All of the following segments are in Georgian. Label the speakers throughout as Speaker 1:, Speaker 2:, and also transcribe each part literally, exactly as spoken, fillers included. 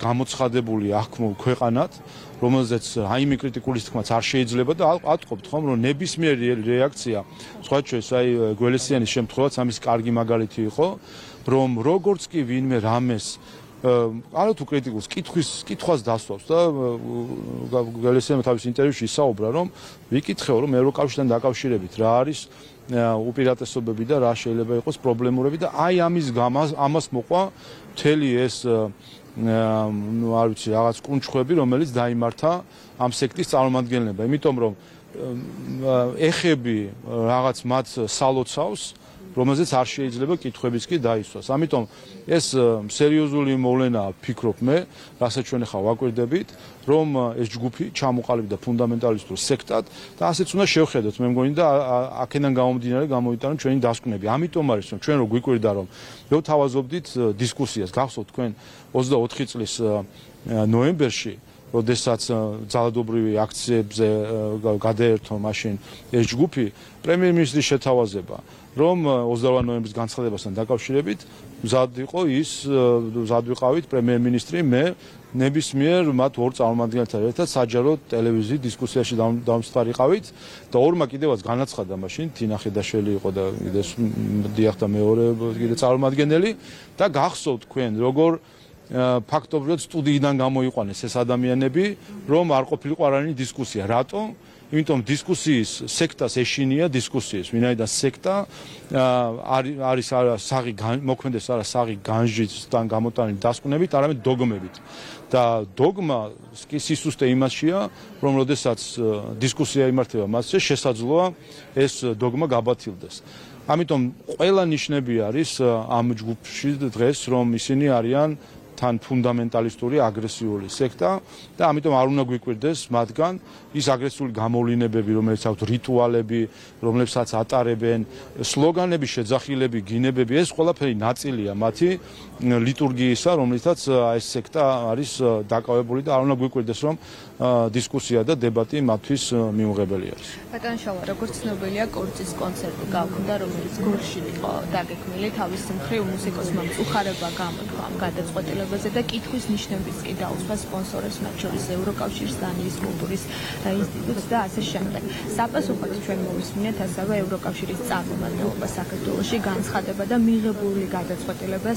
Speaker 1: გამოცხადებული აღქმულ ქვეყანად, რომელზეც რაიმე კრიტიკული თქმაც არ შეიძლება და ავტყობთ ხომ, რომ ნებისმიერი რეაქცია, სხვა შორის აი გველესიანის შემთხვევაც ამის კარგი მაგალითი იყო, რომ როგორც კი ვინმე რამეს არა თუ კრიტიკულს კითხვის კითხვას დასვავს და გველესიანმა თავის ინტერვიუში ისაუბრა, რომ ვიკითხეო, რომ ევროკავშირთან დაკავშირებით რა არის უპირატესობები და რა შეიძლება იყოს პრობლემურები და აი ამის გამას ამას მოყვა მთელი ეს ნუ არ ვიცი რაღაც კუნჩხვები, რომელიც დაიმართა ამ სექტის წარმომადგენლებმა, იმიტომ რომ ეხები რაღაც მათ სალოცავს, რომელზეც არ შეიძლება კითხვებიც კი დაისვას. ამიტომ ეს სერიოზული მოვლენაა, ფიქრობ მე, რასაც ჩვენ ახლა ვაკვირდებით, რომ ეს ჯგუფი ჩამოყალიბდა ფუნდამენტალისტურ სექტად და ასეც უნდა შევხედოთ, მე მგონი და აქედან გამომდინარე გამოვიტანოთ ჩვენი დასკვნები. ამიტომ არის რომ ჩვენ რო გვიკვირდა რომ ვთავაზობდით დისკუსიას, გახსოვთ თქვენ ოცდაოთხი წლის ნოემბერში, როდესაც ძალადობრივი აქციებზე გადაერთო მაშინ ეს ჯგუფი, პრემიერ-მინისტრის შეთავაზება, რომ ოცდაოთხი ნოემბრის განცხადებასთან დაკავშირებით მზად იყო ის, მზად ვიყავით პრემიერ-მინისტრი, მე ნებისმიერ მათ ორ წარმომადგენელთან ერთად საჯარო ტელევიზიის დისკუსიაში დამსწრიყავით და ორმა კიდევაც განაცხადა მაშინ თინა ხედაშვილი იყო და კიდე დიახ და მეორე კიდე წარმომადგენელი და გახსოვთ თქვენ როგორ ფაქტობრივად სტუდიიდან გამოიყვანეს ეს ადამიანები, რომ არ ყოფილიყო არანაირი დისკუსია. რატომ? იმიტომ დისკუსიის სექტას ეშინია დისკუსიის, ვინაიდან სექტა არის საღი მოქმედეს არა საღი განჯისთან გამოტანილი დასკვნებით, არამედ დოგმებით. და დოგმა კი სისუსტე იმაშია, რომ როდესაც დისკუსია იმართება მასზე, შესაძლოა ეს დოგმა გაბათილდეს. ამიტომ ყველა ნიშნები არის ამ ჯგუფში დღეს, რომ ისინი არიან თან ფუნდამენტალისტური აგრესიული სექტა და ამიტომ არ უნდა გვიკვირდეს მათგან ის აგრესიული გამოვლინებები, რომელიც აქვთ რიტუალები, რომლებსაც ატარებენ, სლოგანები, შეძახილები, გინებები, ეს ყველაფერი ნაწილია მათი ლიტურგიისა, რომლითაც ეს სექტა არის დაკავებული და არ უნდა გვიკვირდეს, რომ დისკუსია და დებატი მათთვის მიუღებელი არის.
Speaker 2: ბატონ შავა, როგორც ცნობილია, კორწის კონცერტი გავხდა, რომელიც გორში იყო დაგეგმილი, თავის მხრივ მუსიკოსმა უხარება გამოთქვა ამ გადაწყვეტილებაზე და კითხვის ნიშნებიც კი დაუსვა სპონსორებს, მათ შორის ევროკავშირს, დანიის კულტურის ინსტიტუტს და ასე შემდეგ. საპასუხოდ ჩვენ მოვისმინეთ ასევე ევროკავშირის წარმომადგენლობა საქართველოში განცხადება და მიღებული გადაწყვეტილება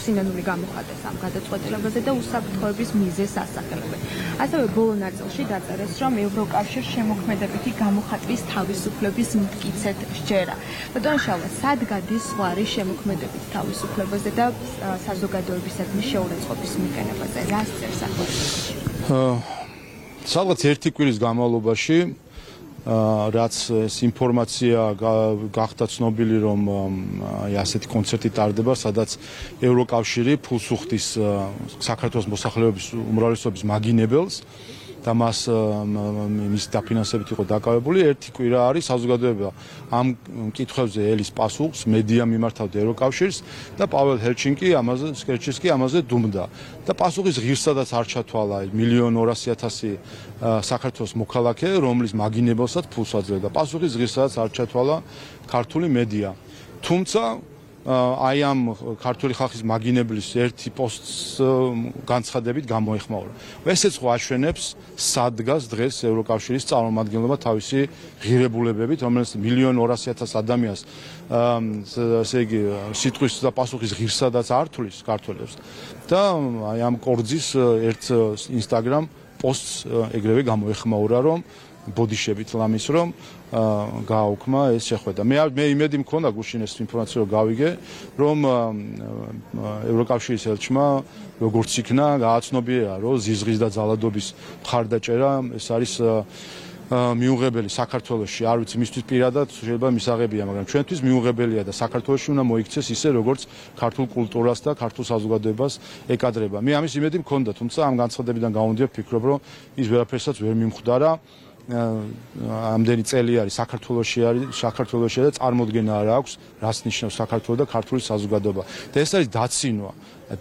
Speaker 2: სინანული გამოხატეს ამ გადაწყვეტილებაზე და უსაფრთხოების მიზეზს ასახელებენ. ასევე ბოლო ნაწილში დაწერეს, რომ ევროკავშირს შემოქმედებითი გამოხატვის თავისუფლების მტკიცედ სჯერა. ბატონ შავა, სად გადის ზღვარი შემოქმედებით თავისუფლებაზე და საზოგადოებისადმი შეურაცხყოფის მიყენებაზე? რას წერს ახალგაზრდაში?
Speaker 1: სადღაც ერთი კვირის განმავლობაში, რაც ეს ინფორმაცია გახდა ცნობილი, რომ ასეთი კონცერტი ტარდება, სადაც ევროკავშირი ფულს უხდის საქართველოს მოსახლეობის უმრავლესობის მაგინებელს და მას მის დაფინანსებით იყო დაკავებული. ერთი კვირა არის საზოგადოება ამ კითხვებზე ელის პასუხს, მედია მიმართავდა ევროკავშირს და პაվել ჰელჩინკი ამაზე სკერჩისკი ამაზე დუმდა. და პასუხის ღირსადაც არ ჩათვალა მილიონ ორასი ათასი საქართველოს მოქალაქე, რომლის მაგინებელსაც ფულს აძლევდა. პასუხის ღირსადაც არ ჩათვალა ქართული მედია. თუმცა აი ამ ქართული ხალხის მაგინებლის ერთი პოსტს განცხადებით გამოეხმაურა. ესეც ხო აშვენებს სად დგას დღეს ევროკავშირის წარმომადგენლობა თავისი ღირებულებებით, რომელიც მილიონ ორასი ათას ადამიანს ესე იგი სიტყვის და პასუხის ღირსადაც არ თulis ქართველებს და აი ამ კორძის ერთ ინსტაგრამ პოსტს ეგრევე გამოეხმაურა, რომ ბოდიშებით ლამის რომ გააუქმა ეს შეხვედრა. მე მე იმედი მქონდა გუშინ ეს ინფორმაცია რომ გავიგე, რომ ევროკავშირის ელჩმა როგორც იქნა გააცნობიერა, რომ ზიზღის და ძალადობის მხარდაჭერა ეს არის მიუღებელი საქართველოში. არ ვიცი მისთვის პირადად შეიძლება მისაღებია, მაგრამ ჩვენთვის მიუღებელია და საქართველოში უნდა მოიქცეს ისე როგორც ქართულ კულტურას და ქართულ საზოგადოებას ეკადრება. მე ამის იმედი მქონდა, თუმცა ამ განცხადებიდან გამომდინარე ვფიქრობ, რომ ის ვერაფერსაც ვერ მიმხვდარა. ამდენი წელი არის საქართველოში არის საქართველოში და წარმოდგენა არ აქვს რას ნიშნავს საქართველო და ქართული საზოგადოება. და ეს არის დაცინვა.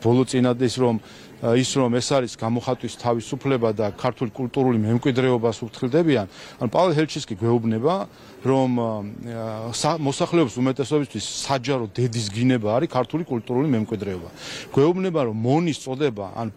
Speaker 1: ბოლო წინად ის რომ ის რომ ეს არის გამოხატვის თავისუფლება და ქართული კულტურული მემკვიდრეობას უფრთხილდებიან, ან პაվել ჰელჩინკი გვეუბნება, რომ მოსახლეობის უმეტესობისთვის საჯარო დედის გინება არის ქართული კულტურული მემკვიდრეობა. გვეუბნება, რომ მონის წოდება ან